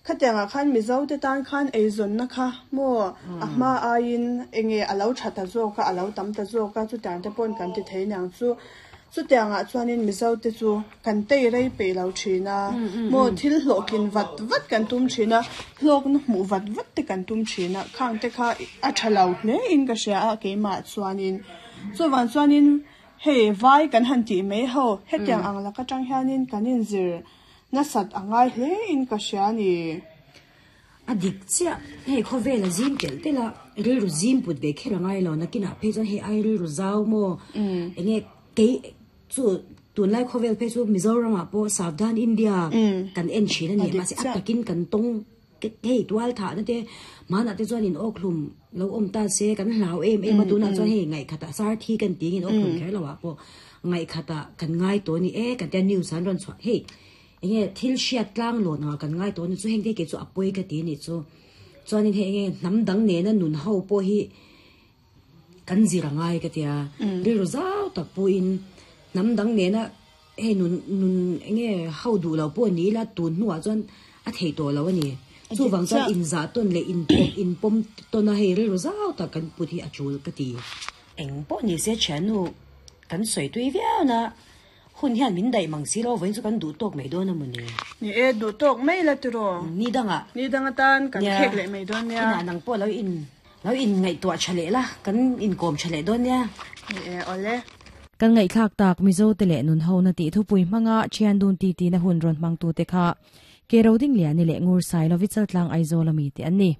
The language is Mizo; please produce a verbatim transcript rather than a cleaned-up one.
Khatiangah khan Mizo te tan khan eizawnna kha maw a hma aiin enge a lo tha ta zawk a, a lo tam ta zawk a, chutiang te pawhin kan ti thei niang chu. Chutiangah chuanin Mizo te chu kan tei rei peih lo thin a, maw thil hlawhtlin vat vat kan tum thin a, hlawkna hmuh vat vat te kan tum thin a, khang te kha a tha lo hle in ka hria a keimah chuanin. Chuvang chuanin hei vai kan han tih mai ho, hetiang ang lak atang hianin kan inzir nasat a ngai hle in ka hria a ni. A dik chiah, hei khawvel a zim telh telh a, rilru zim put ve kher a ngai lo, nakinah phei chuan hei ai rilru zau maw, enge kei chu tunlai khawvel phei chu Mizoramah pawh Savdhan India kan en thin a ni, mahse a takin kan tawng hei tual thahna te hmanah te chuan in awkhlum lo awm ta se kan hlau em em a, tunah chuan hei ngaihkhatah sarthi kan tih in awkhlum kher lo ah pawh ngaihkhatah kan ngai tawh a ni e kan tia news an rawn chhuah hei enge thil hriat tlang lawn anga kan ngai tawh a ni chu heng te kei chu a pawi ka ti a nih chu chuanin hei enge hnam dang nena nun ho pawh hi kan zir a ngai ka tia rilru zau tak pawhin hnam dang nena hei nun nun enge ho duh lo pawh ni ila tun hnuah chuan a thei tawh lo a ni chuvang chuan inzah tawn leh inpawm inpawm tawn a hei rilru zau tak kan put hi a tul ka ti. Eng pawh ni se thiannu kan sawi tui viau na hun hian min daih mang si lo vawiin chu kan duh tawk mai dawn a maw ni. Ni e, duh tawk mai la tiraw. Ni dangah. Ni dang atan kan khek leh mai dawn nia. Inah nang pawh lo in lo in ngaihtuah tha leh la, kan inkawm tha leh dawn nia. Ni e, awle. Kan ngaihthlak tak Mizo te leh nun ho na tih thupui hmanga thian dun ti ti na hun rawn hmang tu te kha Ke Rodingliani leh Ngur Sailovi Chaltlang Aizawl ami te an ni.